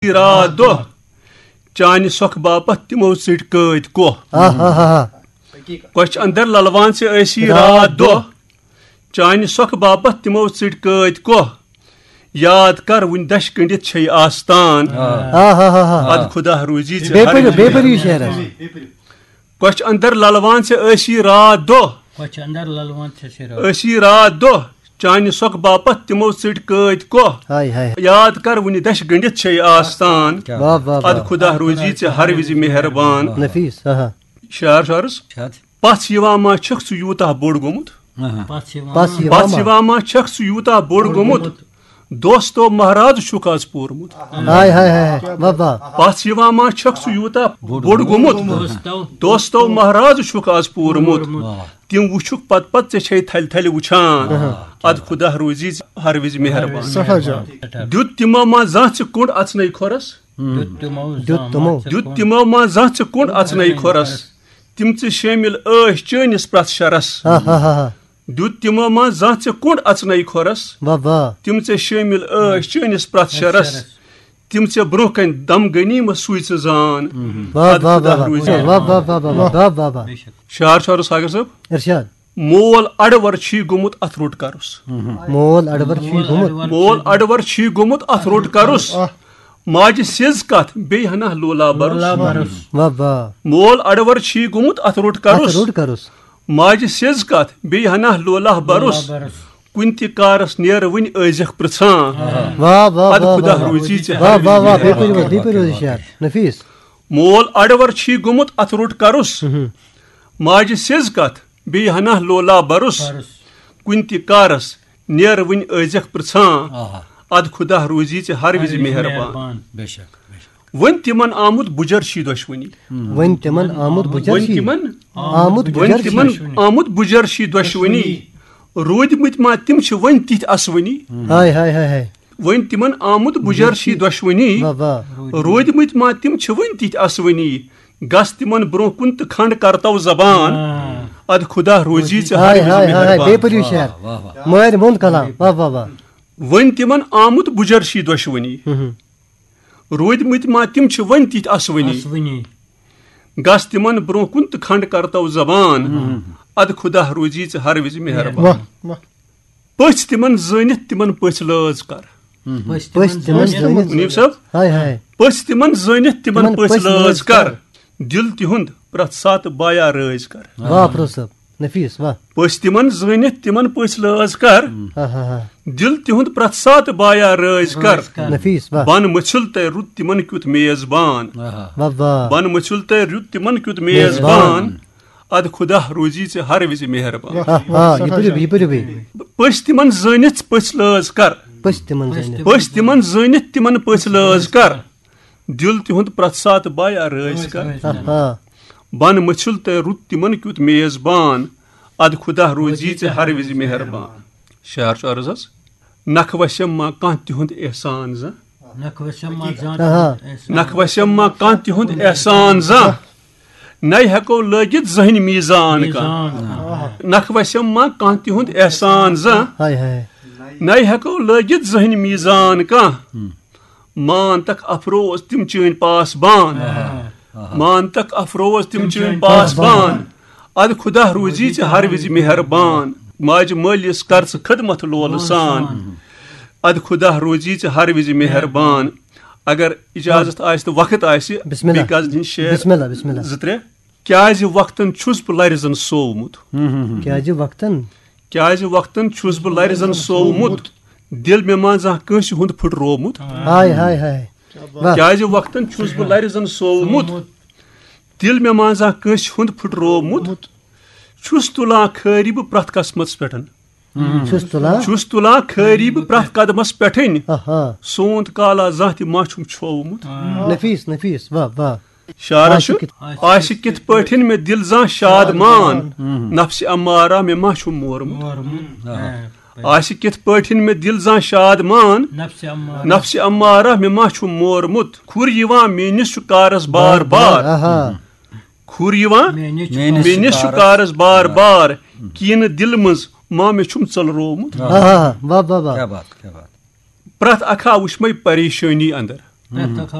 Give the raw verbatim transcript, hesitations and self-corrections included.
راتھ دۄہ، چانہِ سۄکھٕ باپتھ تِمو ژٔٹۍ قٲدۍ کوہ۔ آہا۔ کۄچھِ اندر للوان ژےٚ ٲسی راتھ راتھ دۄہ، دۄہ۔ چانہِ سۄکھٕ باپتھ تِمو ژٔٹۍ قٲدۍ کوہ۔ یاد کر وُنہِ دَچھِ گٔنڈِتھ چھے آستان۔ آہا۔ ادٕ خدا روزی ژےٚ بیٚیہِ ہر پٔرِو، وِزِ بیٚیہِ پٔرِو یہِ شعر حظ۔ کۄچھِ اندر للوان ژےٚ ٲسی راتھ دۄہ۔ کۄچھِ اندر للوان ژےٚ ٲسی راتھ۔ ٲسی راتھ دۄہ۔ چانہِ سۄکھٕ باپتھ تِمو ژٔٹۍ قٲدۍ کوہ۔ ہاے ہاے۔ یاد کر وُنہِ دَچھِ گٔنڈِتھ چھے آستان۔ کیٛاہ واہ، واہ، ادٕ واہ۔ خدا روزی ژےٚ ہر وِزِ مہربان۔ نفیس، آہا۔ شعر شعرس۔ شعر۔ پژھ یِوان ما چھکھ ژٕ یوٗتاہ بوٚڑ گوٚمُت؟ آہا۔ پژھ یِوان پژھ ما؟ پژھ یِوان ما چھکھ ژٕ یوٗتاہ بوٚڑ گوٚمُت؟ دوستو مہراز چھُکھ از پوٗرمُت۔ ہاے ہاے ہاے ہاے، واہ واہ۔ پژھ یِوان ما چھکھ ژٕ یوٗتاہ بوٚڑ گوٚمُت؟ دوستو۔ دوستو مہراز چھُکھ از پوٗرمُت۔ واہ۔ تِم وٕچھُکھ پتہٕ پتہٕ ژےٚ چھے تھلہِ تھلہِ وٕچھان۔ اہاں۔ ادٕ خدا روزی ژےٚ ہر وِزِ مہربان۔ سٮ۪ٹھاہ جان۔ دیُت تِمو ما زانٛہہ ژےٚ کوٚنٛڈ اژنَے کھۄرس؟ دیُت تِمو دیُت زانٛہہ تِمو۔ ما ژےٚ دیُت کوٚنٛڈ تِمو ما زانٛہہ ژےٚ کوٚنٛڈ اژنَے کھۄرس؟ تِم ژےٚ شٲمِل ٲسۍ چٲنِس پرٛٮ۪تھ شرس۔ ہا ہا ہا ہا۔ دیُت تِمو ما زانٛہہ ژےٚ کوٚنٛڈ اژنَے کھۄرس؟ واہ واہ۔ تِم ژےٚ شٲمِل ٲسۍ چٲنِس پرٛٮ۪تھ شرس۔ تِم ژےٚ برٛونٛہہ کنہِ دم غنیمت سوٗزۍ ژٕ زان۔ واہ ادٕ واہ خدا واہ روزی۔ واہ واہ واہ واہ واہ واہ واہ۔ شعر شعرس ساگر صٲب۔ ارشاد۔ مول اڑور چھی گوٚمُت اتھ روٚٹ کرُس۔ مول اڑور چھی گوٚمُت۔ مول اڑور چھی گوٚمُت اتھ روٚٹ کرُس۔ ماجہِ سیٚز کتھ بیٚیہِ ہنا لولا برُس۔ واہ واہ۔ مول اڑور چھی گوٚمُت اتھ روٚٹ اتھ کرُس۔ روٚٹ کرُس۔ ماجہِ سیٚز کتھ بیٚیہِ ہنا لولا برُس۔ کُنہِ تہِ کارس نیر وُنہِ ٲزیکھ پرژھان۔ واہ واہ ادٕ واہ خدا واہ۔ روزی ژےٚ واہ ہر واہ وِزِ واہ، بیٚیہِ مہربان۔ پٔرِو حظ، بیٚیہِ پٔرِو حظ یہِ شعر۔ نفیس۔ مول اڑور چھی گوٚمُت اتھ روٚٹ کرُس۔ ماجہِ سیٚز کتھ بیٚیہِ ہنا لولا برُس۔ برُس۔ کُنہِ تہِ کارس نیر وُنہِ ٲزیکھ پرژھان۔ آہا۔ ادٕ خدا روزی ژےٚ ہر وِزِ ہر وِزِ مہربان۔ مہربان۔ بے شک، بے شک۔ وۄنۍ تِمن آمُت بُجر چھی دۄشوٕنی۔ وۄنۍ تِمن آمُت بُجر وۄنۍ چھی۔ تِمن آمُت وۄنۍ بُجر تِمن چھی۔ آمُت بُجر چھی دۄشوٕنی۔ روٗدمٕتۍ ما تِم چھِ وۄنۍ تِتھۍ اسوٕنی۔ ہاے ہاے ہاے ہاے۔ وۄنۍ تِمن آمُت بُجر چھی دۄشوٕنی۔ واہ واہ۔ روٗدمٕتۍ ما تِم چھِ وۄنۍ تِتھۍ اسوٕنی۔ گژھ تِمن برٛونٛہہ کُن تہٕ کھنٛڈ کرتو زبان۔ آ۔ ادٕ خدا روزی ژےٚ ہر ہاے وِزِ ہاے ہاے ہاے، مہربان۔ بیٚیہِ پٔرِو شعر۔ واہ واہ۔ مٲرۍ موٚنٛد کلام، واہ واہ واہ۔ وۄنۍ تِمن آمُت بُجر چھی دۄشوٕنی۔ ہُم۔ روٗدمٕتۍ ما تِم چھِ وۄنۍ تِتھۍ اسوٕنی۔ اسوٕنی۔ گژھ تِمن برٛونٛہہ کُن تہٕ کھنٛڈ کرتو زبان۔ ہُم۔ ادٕ خدا روزی ژےٚ ہر وِزِ مہربان۔ واہ واہ۔ پٔژھۍ تِمن زٲنِتھ تِمن پٔژھۍ لٲز کر۔ پٔژھۍ پٔژھۍ تِمن تِمن زٲنِتھ۔ زٲنِتھ۔ مُنیٖب صٲب۔ ہاے ہاے۔ پٔژھۍ تِمن زٲنِتھ تِمن تِمن پٔژھۍ پٔژھۍ لٲز لٲز کر۔ کر۔ دِل تِہُنٛد پرٛٮ۪تھ ساتہٕ بایا رٲزۍ کر۔ واہ پرو صٲب، نفیس واہ۔ پٔژھۍ تِمن زٲنِتھ تِمن پٔژھۍ لٲز کر۔ ہا ہا ہا۔ دِل تِہُنٛد پرٛٮ۪تھ ساتہٕ بایا رٲزۍ کر۔ رٲزۍ کر۔ نفیس واہ۔ بن مٔژھِل تہٕ رُت تِمن کیُتھ میزبان۔ آہا۔ واہ واہ۔ بن مٔژھِل تہٕ رُت تِمن کیُتھ میزبان۔ میزبان۔ ادٕ خدا روزی ژےٚ ہر وِزِ مہربان۔ ہا ہا، یہِ پٔرِو، یہِ پٔرِو بیٚیہِ۔ پٔژھۍ تِمن زٲنِتھ پٔژھۍ لٲز کر۔ پٔژھۍ تِمن زٲنِتھ۔ پٔژھۍ تِمن زٲنِتھ تِمن پٔژھۍ لٲز کر۔ دِل تِہُنٛد پرٛٮ۪تھ ساتہٕ بایا رٲزۍ کر۔ ہا ہا۔ بن مٔژھِل تہٕ رُت تِمن کیُتھ میزبان۔ ادٕ خدا روزی ژےٚ ہر وِزِ مہربان۔ شعر چھُ عرض حظ۔ نکھٕ وسیم ما کانٛہہ تِہُنٛد احسان زانٛہہ۔ نکھٕ وسیم ما زانٛہہ آہا۔ تِہُنٛد احسان۔ نکھٕ وسیم ما کانٛہہ تِہُنٛد احسان زانٛہہ۔ نَے ہٮ۪کو لٲگِتھ زٕہٕنۍ میٖزان کانٛہہ۔ میٖزان کانٛہہ۔ نکھٕ وسیم ما کانٛہہ تِہُنٛد احسان زانٛہہ۔ ہاے ہاے۔ نَے ہٮ۪کو لٲگِتھ زٕہٕنۍ میٖزان کانٛہہ۔ مان تک افروز تِم چٲنۍ پاسبان۔ آہا۔ مان تک افروز تِم چٲنۍ پاسبان۔ ادٕ خدا روزی ژےٚ ہر وِزِ مہربان۔ ماجہِ مٲلِس کر ژٕ خدمت لولہٕ سان۔ ادٕ خدا روزی ژےٚ ہر وِزِ مہربان۔ اگر اجازت آسہِ تہٕ وقت آسہِ، بسم اللہ۔ بیٚیہِ کزن ہِنٛدۍ شعر بسم اللہ، بسم اللہ۔ زٕ ترٛےٚ۔ کیازِ وقتن چھُس بہٕ لرِ زن سوومُت۔ کیازِ وقتن؟ کیازِ وقتن چھُس بہٕ لرِ زن سوومُت۔ دِل مےٚ ما زانٛہہ کٲنٛسہِ ہُنٛد پھُٹروومُت۔ ہاے ہاے ہاے۔ واہ۔ کیازِ وقتن چھُس بہٕ لرِ زن سوومُت۔ دِل مےٚ ما زانٛہہ کٲنٛسہِ ہُنٛد پھُٹروومُت۔ چھُس تُلان خٲری بہٕ پرٛٮ۪تھ قسمتس پٮ۪ٹھ۔ چھُس تُلان۔ چھُس تُلان خٲری بہٕ پرٛٮ۪تھ قدمس پٮ۪ٹھٕے۔ آہا۔ سونت کالا زانٛہہ تہِ ما چھُم چھوومُت۔ نفیس، نفیس، واہ واہ۔ شعرس آسہِ چھُ، کِتھ آسہِ کِتھ پٲٹھۍ مےٚ دِل زانٛہہ شاد مان۔ نفسِ امارہ مےٚ ما چھُم مورمُت۔ مورمُت۔ آسہِ کِتھ پٲٹھۍ مےٚ دِل زانٛہہ شاد مان۔ نفسِ امارہ۔ نفسِ امارہ مےٚ ما چھُم مورمُت۔ کھُر یِوان میٲنِس چھُ کارس بار بار۔ آہا۔ کھُر یِوان میٲنِس چھُ میٲنِس چھُ کارس کارس بار بار۔ کِنہٕ دِلہٕ منٛز ما مےٚ چھُم ژٔلروومُت۔ آہا، واہ واہ واہ۔ کیا بات، کیا بات۔ پرٛٮ۪تھ اکھ ہا وٕچھ مےٚ پریشٲنی اندر۔ پرٛٮ۪تھ کانٛہہ